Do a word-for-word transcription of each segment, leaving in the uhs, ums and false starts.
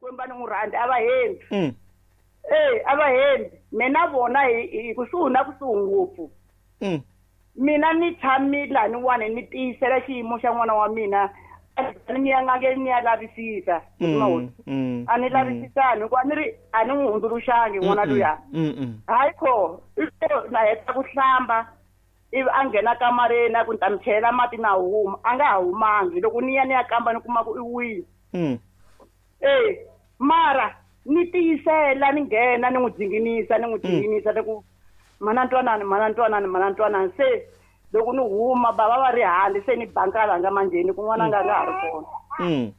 Xikwembu a ni n'wi rhandzi a va hembi. Mm. Eh, a va hembi. Mina vona hi hi kusuhi na kusuhi ngopfu. Mm. Mina ni tshamile laniwani ni tiyisela xiyimo xa n'wana wa mina. A ni ya ngange ni ya lavisisa. Mm. Mm. A ni lavisisani hikuva a ni ri a ni n'wi hundzuluxangi n'wana luya. Mm. Mm. Hayi kho, i to na heta ku hlamba ivi a nghena kamareni a ku ni ta mi chelela mati na huma, a nga ha humangi. Loko ni ya ni ya kamba ni kuma ku i wile. Mm. Eh, mara ni tiyisela ni nghena ni n'wi dzinginisa ni n'wi dzinginisa ni ku mana ntwanani mana ntwanani mana ntwanani se loko ni huma bava va ri handle se ni bankala nga manjheni ku n'wana nga a nga ha ri kona. Mm.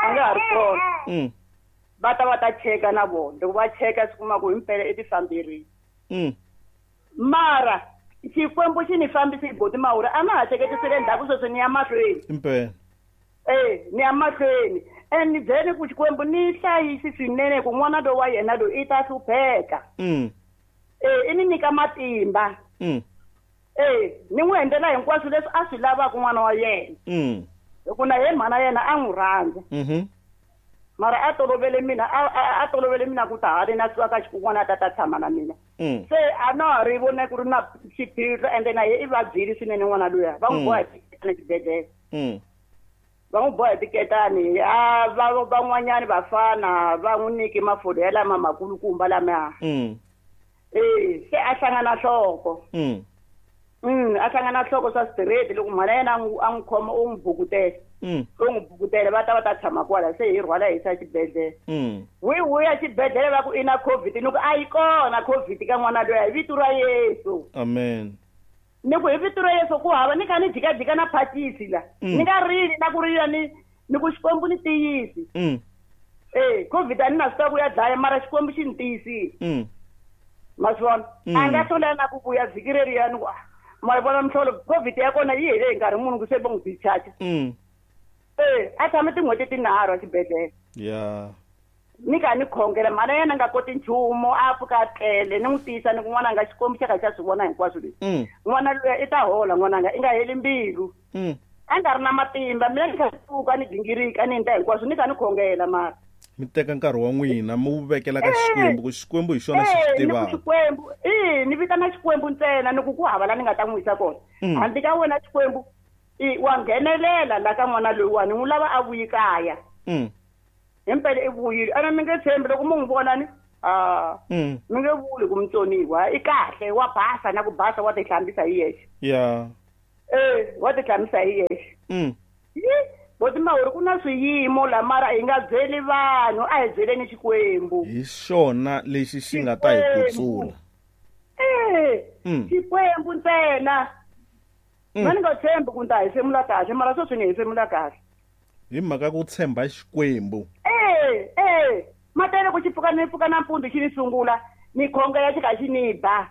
A nga ha ri kona. Mm. Va ta va ta cheka na vona. Loko va cheka swi kuma ku himpela i tifamberile. Mm. Mara Xikwembu xi ni fambise hi boti Mawuri a na ha hleketisele ndzhaku sweswi ni ya mahlweni. Impela. Eh, ni ya mahlweni. And ni byele ku Xikwembu ni hlayisi swinene ku n'wana loyi wa yena loyi i ta hlupheka. Mm. Eh, i ni nyika matimba. Mm. Eh, ni n'wi endlela hinkwaswo leswi a swi lavaka n'wana wa yena. Mm. Hikuva na yena mhana yena a n'wi rhandza. Mhm. Mara a tolovele mina, a, a, a tolovele mina ku ta hale na suka ka xikun'wana a ta ta tshama na mina. Mm. Se a na ha ri vone ku ri na xiphiqo ende na ye i vabyile swinene n'wana luya. Va n'wi Mm. boha hi tiketani xibedhlele. Mm. Va n'wi boha hi tiketani, a va van'wanyani vafana va n'wi nyiki mafurha ya lama makulukumba lamaya. Mm. Eh, se a hlangana nhloko. Mm. Mm, a hlangana nhloko swa straight loko mhana yena a n'wi a n'wi khoma u n'wi bukutela. Mm. U n'wi bukutela va ta va ta tshama kwala se hi rhwala hi yisa xibedhlele. Mm. Wi vuya xibedhlele va ku i na COVID ni ku a yi kona COVID ka n'wana loyi hi vito ra Yesu. Amen. Ni ku hi vito ra Yesu ku hava ni kha ni jikajika na phakisi la. Mm. Ni nga rili na ku rila ni ni ku Xikwembu ni tiyisi. Mm. Eh, COVID a ni na swi tiva ku ya dlaya mara Xikwembu xi ni tiyisile. Mm. Ma swi vona? Mm. A nga hlwela na ku vuya vhiki reriya ni ku, ah, ma vona mihlolo COVID ya kona yi hele hi nkarhi muni ku se va n'wi discharge. Mm. Eh, a tshame tin'hweti tinharhu exibedhlele. Yeah. Ni kha ni khongela mhana yena a nga koti nchumu a pfuka a tlele ni n'wi tiyisa ni ku n'wananga Xikwembu xa ka xa swi vona hinkwaswo leswi. Mm. N'wana luya i ta hola n'wananga i nga heli mbilu. Mm. A nga ri na matimba mina ni kha ni pfuka ni gingirika ni endla hinkwaswo ni kha ni khongela mara. Mi teka nkarhi wa n'wina mi wu vekela ka Eh. Xikwembu ku Xikwembu hi xona xi Eh, swi ni ku tivaka. Xikwembu, eh, ni vitana Xikwembu ntsena ni ku ku hava la ni nga ta n'wi yisa kona. Mm. Handle ka wena Xikwembu, i wa nghenelela la ka n'wana loyiwani n'wi lava a vuyi kaya. Mm. Himpela i vuyile. Ene mi nge tshembi loko mu n'wi vona ni, ah, Mm. mi nge vuli ku mutsoniwa i kahle wa basa na ku basa wa tihlambisa hi yexe. Yeah. Eh, wa tihlambisa hi yexe. Mm. Yi, boti Mawuri ku na swiyimo la mara hi nga byeli vanhu a hi byeleni Xikwembu. Hi xona lexi xi nga ta hi kutsula. Eh, Mm. Xikwembu ntsena. Mm. Mina ni nga tshembi ku ni ta hefemula kahle mara sweswi ni hefemula kahle. Hi mhaka ku tshemba Xikwembu. Eh, eh, matele ku xi pfuka ni pfuka nampundzu xi ni sungula ni khongela xi kha xi ni ba.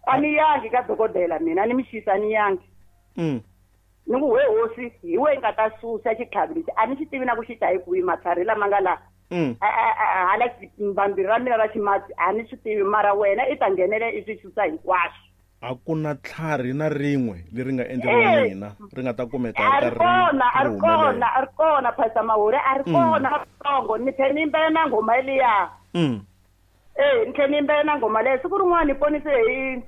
A ni yangi ka dokodela mina a ni mi xisa a ni yangi. Mm. Ni ku we hosi hi we nga ta susa xitlhavi lexi a ni xi tivi na ku xi ta hi kwihi matlhari lama nga la. Mm. A, a, a, hala vambirhi ra mina ra ximatsi a ni swi tivi mara wena i ta nghenela i swi susa hinkwaswo. A ku na tlhari na rin'we leri nga endleriwa Eh. n'wina ri nga ta kumeka A ri ri kona, a ri ri kona, humelela. a ri kona Pastor Mawuri a ri Mm. kona katsongo ni tlhela ni yimbelela na nghoma yeliya. Mm. Eh, ni tlhela ni yimbelela na nghoma leyi siku rin'wana ni ponise hi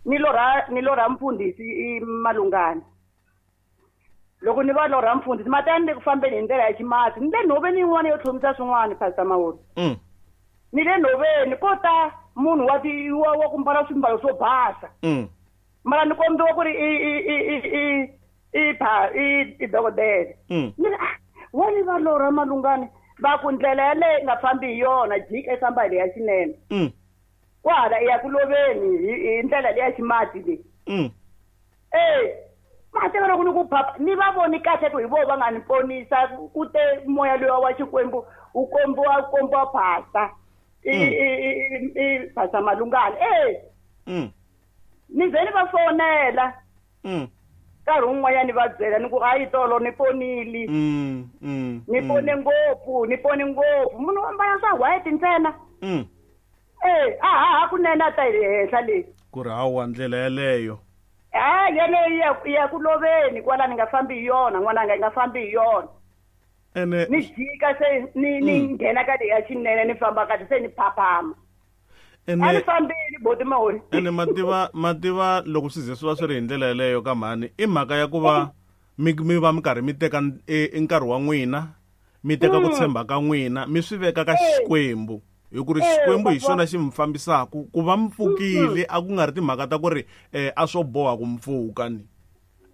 ni lorha ni lorha mfundhisi i Malungana. Loko ni va lorha mfundhisi mati ni le ku fambeni hi ndlela ya ximatsi ni le nhoveni yin'wana yo tlhomisa swin'wana Pastor Mawuri. Mm. Ni le nhoveni ko ta munhu wa ti wa wa ku mbala swimbalo swo basa. Mm. Mara ni kombiwa ku ri i i i i i i pha i i dokodela. Mm. Ni ri, ah, wa ni va lorha Malungana va ku ndlela yaleyo i nga fambi hi yona jika i famba hi leya xinene. Mm. Kwahala i ya ku loveni hi hi ndlela leya ximatsi leyi. Mm. Eh, mateka loko ni ku phapha ni va voni kahle ku hi vona va nga ni ponisa ku te moya luwa wa Xikwembu wu kombiwa wu kombiwa pastor. I Mm. i i i Pastor Malungana. Eh, Mm. ni ze ni va fonela. Mm. Nkarhi wun'wanyani va byela ni ku hayi tolo ni ponile. Mm, mm, Ni mm. pone ngopfu, ni pone ngopfu. Munhu wa mbala swa white ntsena. Mm. Eh, a ha ha kunene a ta hi le henhla le. Ku ri hawa ndlela yeleyo. Ha yeleyo yi ya yi ya ku loveni kwala ni nga fambi hi yona n'wananga yi nga fambi hi yona. Ene ni jika se ni ni nghena ka leya xinene ni famba kahle se ni phaphama. Ene a ni fambile boti Mahori. Ene mativa mativa loko swi ze swi va swi ri hi ndlela yeleyo ka mhani i mhaka ya ku va mi mi va mi karhi mi teka nkarhi wa n'wina mi teka ku tshemba ka n'wina mi swi veka ka Xikwembu hi ku ri Xikwembu hi xona xi mi fambisaka ku va mi pfukile a ku nga ri timhaka ta ku ri a swo boha ku mi pfuka ni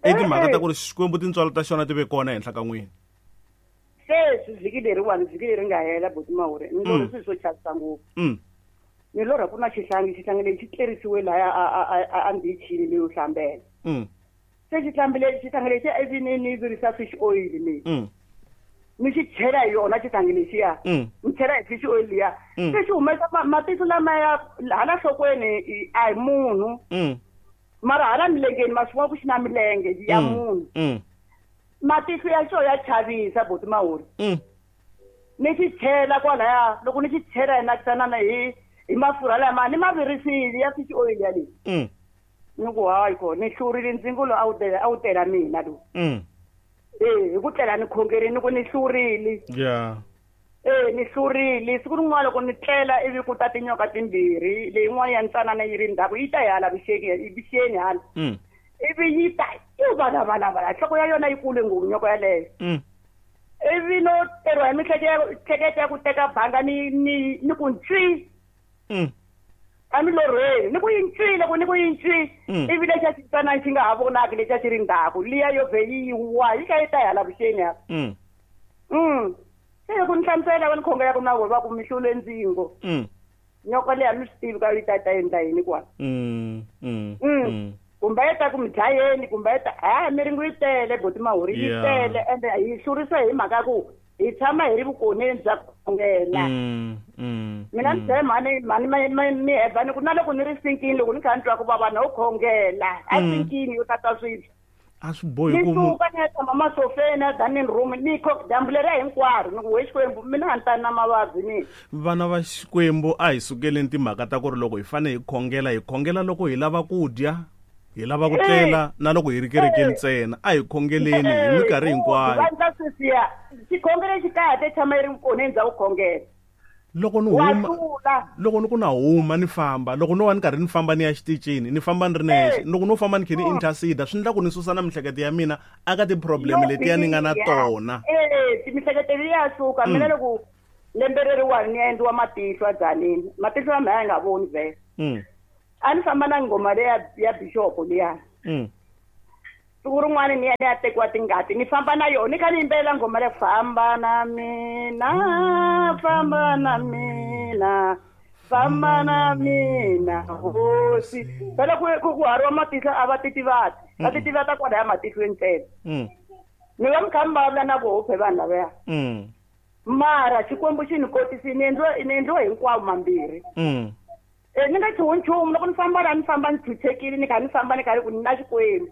i timhaka ta ku ri Xikwembu tintswalo ta xona ti ve kona ehenhla ka n'wina. Sweswi vhiki leriwani vhiki leri nga hela boti Mahori ni lorhi swilo swo chavisa ngopfu. Ni lorha ku na xihlangi xihlangi lexi tlerisiwe laya a a ndhichini leyo hlambela. Se xihlambile xihlangi lexi ivi ni ni virisa fish oil ni ni xi chela hi yona xihlangi lexiya ni chela hi fish oil liya se xi humesa matihlo lama ya hala nhlokweni a hi munhu mara hala milengeni ma swi vona ku xi na milenge ya munhu. Matihlo ya xo ya chavisa boti Mahori. Ni xi chela kwalaya loko ni xi chela hi nakisana hi hi mafurha lama ni ma virisile ya fish oil ya leyi. Ni ku hayi ko ni hlurile ndzingo lowu a wu tela a wu tela mina lowu. Eh hi ku tlela ni khongerini ni ku ni hlurile. Yeah. Eh ni hlurile siku rin'wana loko ni tlela ivi ku ta tinyoka timbirhi leyin'wana ya ntsanana yi ri ndzhaku yi ta hi hala vuxeni vuxeni hala. Ivi yi ta yi valavala nhloko ya yona yi kule ngopfu nyoka yaleyo. Ivi no teriwa hi miehleketo ya ku teka banga ni ni ni ku ntswi. A ni lorhweni ni ku yi ntswi loko ni ku yi ntswi ivi lexa xitsanana xi nga ha vonaki lexa xi ri ndzhaku liya yo vhe yi wa yi kha yi ta hi hala vuxeni hala. Se loko ni hlamusela va ni khongelaka na vona va ku mi hlule ndzingo. Nyoka leyi a mi swi tivi ka yi ta ta endla yini kwala. Kumbe yi ta ku mi dlayeni kumbe yi ta ha miringo yi tele boti Mahori yi tele ende hi hlurisa hi mhaka ku hi tshama hi ri vukoneni bya ku khongela. Mina ni byele mhani mhani mi heva ni ku na loko ni ri sinkini loko ni kha ni twa ku vava no khongela a sinkini yo tata swibye. A swi bohi ku ni suka ni ya tshama masofeni a dining room ni kho dyambu leriya hinkwaro ni ku we Xikwembu mina a ni tani na mavabyi ni. Vana va Xikwembu a hi sukeleni timhaka ta ku ri loko hi fanele hi khongela hi khongela loko hi lava ku dya hi lava ku tlela na loko hi ri kerekeni ntsena a hi khongeleni hi minkarhi hinkwayo. Vandla sweswiya xikhongelo xi kahle tshama yi ri vukoneni bya ku khongela. Loko ni huma loko ni ku na huma ni famba loko no va ni karhi ni famba ni ya xitichini ni famba ni ri nexe loko no famba ni khe ni intercede swi endla ku ni susa na miehleketo ya mina aka ti-problem letiya ni nga na tona. Eh miehleketo liya suka mina loko lembe leriwani ni ya endliwa matihlo a Dzanini matihlo ya mina ya nga voni vhele. A ni famba na nghoma leya ya bishop liya. Siku rin'wana ni ya ni ya tekiwa tingati ni famba na yona ni kha ni yimbelela nghoma leyi famba na mina famba na mina famba na mina hosi. Phela ku ku ku hariwa matihlo a va titivati va titivata kwalaya matihlweni ntsena. Ni va mi kha mi vulavula na voho phe vanhu lavaya. Mara Xikwembu xi ni kotisile ni endliwe ni endliwe hinkwawo mambirhi. Eh ni nga chuhi nchumu loko ni famba laha ni famba ni chuchekile ni kha ni famba ni karhi ku ni na Xikwembu.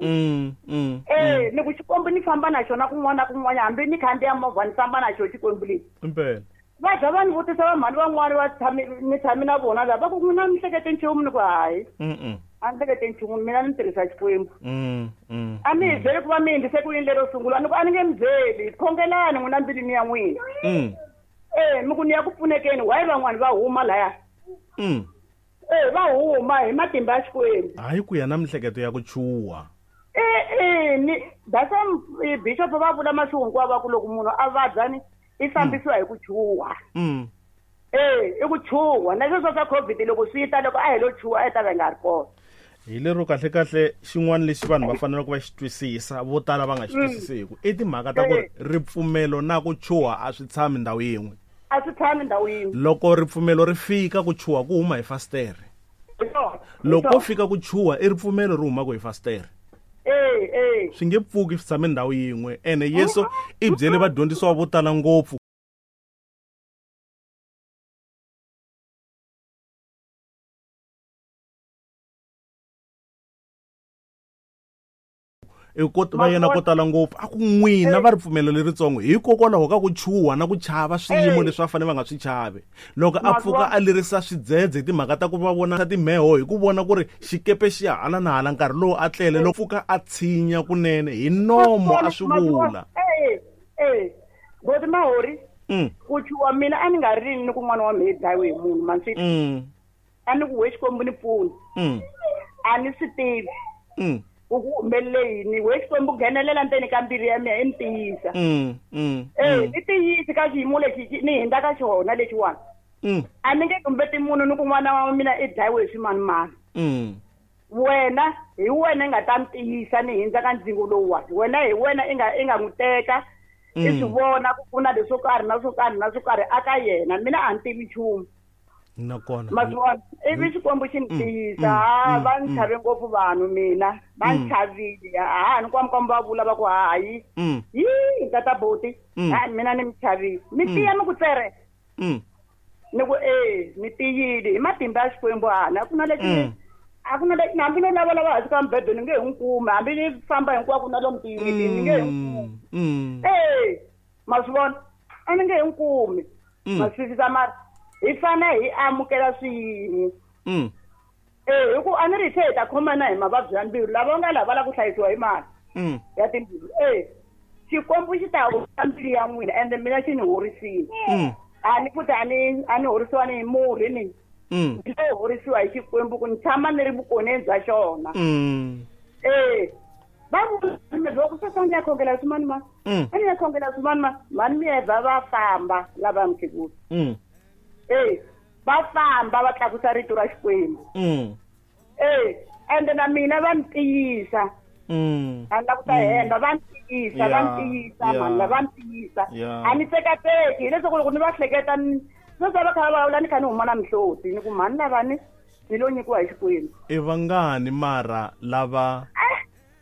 Eh ni ku Xikwembu ni famba na xona kun'wana na kun'wana hambi ni khandziya movha ni famba na xona Xikwembu lexi. Impela. Va za va ni vutisa va mhani van'wani va tshami ni tshami na vona lava va ku n'wina mi hlekete nchumu ni ku hayi. A ni hlekete nchumu mina ni tirhisa Xikwembu. A mi hi byeli ku va mi endlise ku yini lero sungula ni ku a ni nge mi byeli khongelani n'wina mbilwini ya n'wina. Eh mi ku ni ya ku pfunekeni why van'wani va huma laya. Eh va huma hi matimba ya Xikwembu. Hayi ku ya na miehleketo ya ku chuha. Eh eh ni that's why bishop va vula masiku hinkwawo va ku loko munhu a vabya ni i fambisiwa hi ku chuha. Eh i ku chuha na sweswo swa COVID loko swi ta loko a hi lo chuha a yi ta va nga ri kona. Hi lero kahle kahle xin'wana lexi vanhu va faneleke va xi twisisa vo tala va nga xi twisisiku i timhaka ta ku ri ripfumelo na ku chuha a swi tshami ndhawu yin'we. A swi tshami ndhawu yin'we. Loko ripfumelo ri fika ku chuha ku huma hi fastere. Loko fika ku chuha i ripfumelo ri humaka hi fastere. Eh eh swi nge pfuki swi tshame ndhawu yin'we ene Yesu i byele vadyondzisiwa vo tala ngopfu. Va yena ko tala ngopfu a ku n'wina va ripfumelo leritsongo hikokwalaho ka ku chuha na ku chava swiyimo leswi va fanele va nga swi chavi. Loko a pfuka a lerisa swidzedze hi timhaka ta ku va vona timheho hi ku vona ku ri xikepe xi ya hala na hala nkarhi lowu a tlele loko pfuka a tshinya kunene hi nomo a swi vula. Eh eh Boti Mahori mm. Ku chuwa mina a ni nga ri ni ku n'wana wa mina dlayiwe hi munhu manswi mm. A ni ku we Xikwembu ni pfuni mm. A ni swi tivi mm. Ku ku humelele yini we Xikwembu nghenelela ndzeni ka mbilu ya mina i ni tiyisa mm. mm. Eh ni tiyisi ka xiyimo lexi ni hindza ka xona lexiwani mm. A ni nge tumbeti munhu ni ku n'wana wa mina i dlayiwe hi swimanimani mm. Wena hi wena i nga ta ni tiyisa ni hindza ka ndzingo lowuwani wena hi wena i nga i nga n'wi teka i swi vona ku ku na leswo karhi na swo karhi na swo karhi aka yena mina a ni tivi nchumu nakona maswona ivi Xikwembu xi ni tiyisa ha va ni chave ngopfu vanhu mina va ni chavile ha ni kwamkwambu va vula va ku hayi yi tata boti ha mina ni mi chavile mi tiya mi ku tsere ni ku e ni tiyile hi matimba ya Xikwembu hana a ku na lexi a ku na lexi hambi no lavalava hansi ka mubedweni ni nge hi n'wi kumi hambi ni famba hinkwako na lomu tiyunitini ni nge hi n'wi kumi e ma swi vona a ni nge hi n'wi kumi ma swi twisisa mara hi fana hi amukela swiyimo eh hi ku a ni ri hi ta khomana hi mavabyi ya mbilu lava nga lava la ku hlayisiwa hi mali ya timbilu eh Xikwembu xi ta horisa mbilu ya n'wina ende mina xi ni horisile a ni futhi a ni a ni horisiwa ni hi murhi ni ni lo horisiwa hi Xikwembu ku ni tshama ni ri vukoneni bya xona eh va vula loko sweswi a ni ya khongela swimanimani a ni ya khongela swimanimani mhani Mievha va famba lava mukhegula eh va famba va tlakusa rito ra Xikwembu eh ende na mina va ni tiyisa a ni la ku ta hemba va ni tiyisa va ni tiyisa mhani va ni tiyisa a ni tsekateki hileswaku loko ni va hleketa sweswi va kha va vulavula ni kha ni huma na mihloti ni ku mhani lavani ni lo nyikiwa hi Xikwembu i vangani mara lava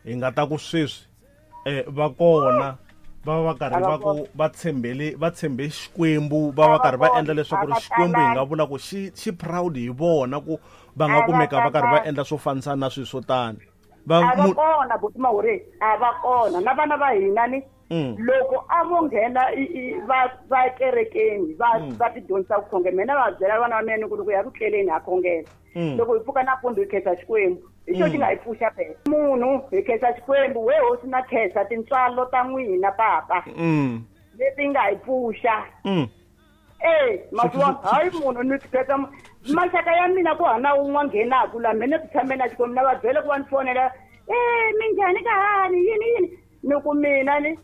hi nga ta ku sweswi eh va kona va va karhi va ku va tshembele va tshembe Xikwembu va va karhi va endla leswaku ri Xikwembu hi nga vula ku xi xi proud hi vona ku va nga kumeka va karhi va endla swo fanisana na swilo swo tani va va kona buti Mahori a va kona na vana va hina ni loko a vo nghena va va kerekeni va va ti dyondzisa ku khongela mina va byela vana va mina ni ku loko ya ku tleleni ha khongela loko hi pfuka nampundzu hi khensa Xikwembu hi xo xi nga hi pfuxa phela munhu hi khensa Xikwembu we hosi na khensa tintswalo ta n'wina papa leti nga hi pfuxa eh maswona hayi munhu ni khensa maxaka ya mina ku hana wun'we nghenaku la mina ti tshame na Xikwembu na va byela ku va ni fonela eh minjhani ka hani yini yini ni ku mina ni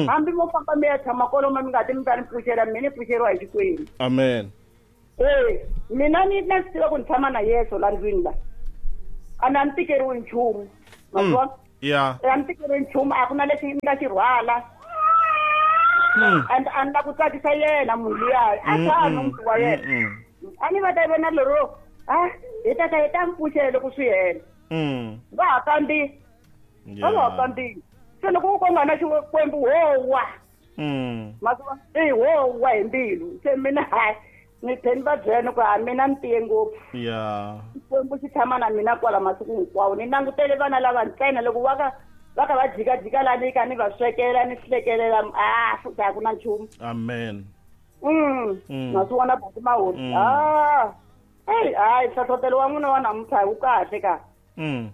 hambi mo famba mi ya tshama kwalomu mi nga ti mi ta ni pfuxela mina ni pfuxeriwa hi Xikwembu amen eh mina ni na swi tiva ku ni tshama na Yesu la ndlwini la a na ni tikeriwi nchumu maswona ya a ni tikeriwi nchumu a ku na lexi ni nga xi rhwala and a ni la ku tsakisa yena munhu luya a tshami muti wa yena a ni va ta vona lero a hi tata hi ta mi pfuxela loko swi hela va ha kandziyi va ha kandziyi se loko ku nga na Xikwembu howa maswona i howa hi mbilu se mina hayi ni tlhe ni va byela ni ku ha mina ni tiye ngopfu ya Xikwembu xi tshama na mina kwala masiku hinkwawo ni langutele vana lava ntsena loko va ka va ka va jikajika la ni ka ni va swekela ni hlekelela a futhi a ku na nchumu amen mm ma swi vona buti Mahori a eyi hayi nhlohlotelo wa n'wina wa namuntlha wu kahle ka mm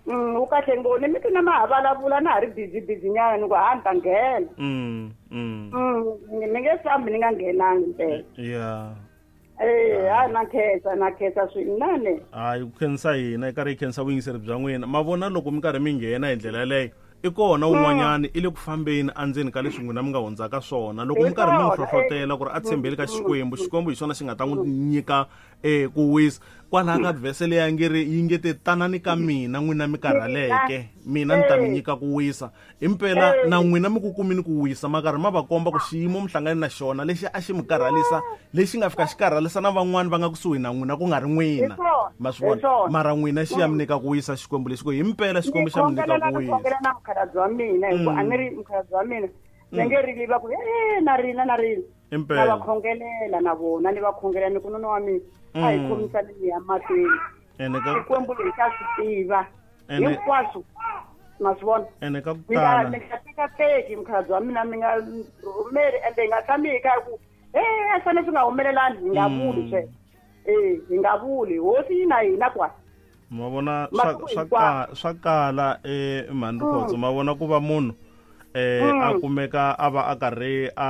mm wu kahle ngopfu ni mi na ma ha vulavula na ha ri busy busy nyana ni ku ha ni ta nghena mm mm mm ni nge fambi ni nga nghenangi mpela ya eh ha na khensa na khensa swinene hayi ku khensa hina i karhi hi khensa vuyingiseri bya n'wina ma vona loko mi karhi mi nghena hi ndlela yaleyo i kona wun'wanyani i le ku fambeni endzeni ka leswi n'wina mi nga hundzaka swona loko mi karhi mi n'wi hlohlotela ku ri a tshembeli ka Xikwembu Xikwembu hi xona xi nga ta n'wi nyika eh ku wisa kwalaha ka vhese leyi nge ri yi nge te tanani ka mina n'wina mi karhaleke mina ni ta mi nyika ku wisa impela na n'wina mi ku kumini ku wisa ma karhi ma va komba ku xiyimo mi hlangane na xona lexi a xi mi karhalisa lexi nga fika xi karhalisa na van'wani va nga kusuhi na n'wina ku nga ri n'wina ma swi vona mara n'wina xi ya mi nyika ku wisa Xikwembu lexi ku himpela Xikwembu xa mi nyika ku wisa mukhalabye wa mina hi ku a ni ri mukhalabye wa mina ni nge rili va ku e na rila na rila na va khongelela na vona ni va khongelela ni ku nuna wa mina a hi khomisani ni ya mahlweni Xikwembu lexi xa swi tiva hinkwaswo ma swi vona ene ka ku tala mi nga tekateki mukhalabye wa mina mi nga rhumeli ende hi nga tshami hi kha ku e a swi fanele swi nga humelelani hi nga vuli sweswo e hi nga vuli hosi yi na hina kwala ma vona swa swa swa kala eh mhani Rikhotso ma vona ku va munhu eh a kumeka a va a karhi a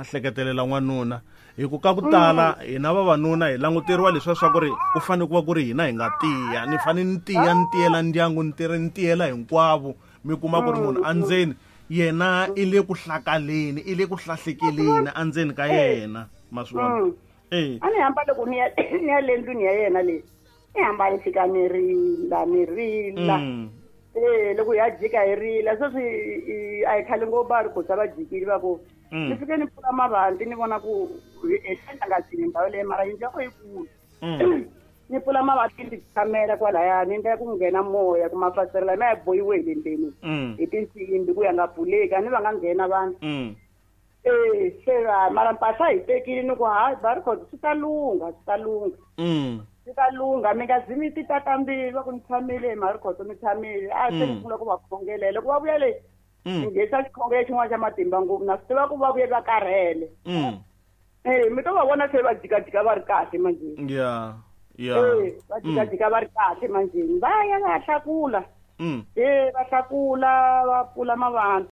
hleketelela n'wanuna hi ku ka ku tala hina vavanuna hi languteriwa leswiya swa ku ri ku fanele ku va ku ri hina hi nga tiya ni fanele ni tiya ni tiyela ndyangu ni tirhi ni tiyela hinkwavo mi kuma ku ri munhu endzeni yena i le ku hlakaleni i le ku hlahlekeleni endzeni ka yena ma swi vona eh a ni hamba loko ni ya ni ya le ndlwini ya yena leyi ni hamba ni fika ni rila ni rila eh loko ya jika hi rila sweswi a hi khale ngopfu va ri kotsa va jikile va ku ni fike ni pfula mavanti ni vona ku enhlangasini ndhawu leyi mara yindlu ya ko yikulu ni pfula mavanti ni tshamela kwalaya ni ndlela ku nghena moya ku mafasitela lama ya bohiwe hi le ndzeni hi tinsimbi ku ya nga pfuleki a ni va nga nghena vanhu eh se mara mpahla hi tekile ni ku hayi va ri khoto swi ta lungha swi ta lungha swi ta lungha mi nga zi mi ti tata mbilu va ku ni tshamile mhari khoto mi tshamile a se ni sungula ku va khongelela loko va vuya le ni nghenisa xikhongelo xin'wana xa matimba ngopfu na swi tiva ku va vuye va karhele eh mi to va vona se va jikajika va ri kahle manjheni ya ya eh va jikajika va ri kahle manjheni va ya va ya hlakula eh va hlakula va pfula mavanti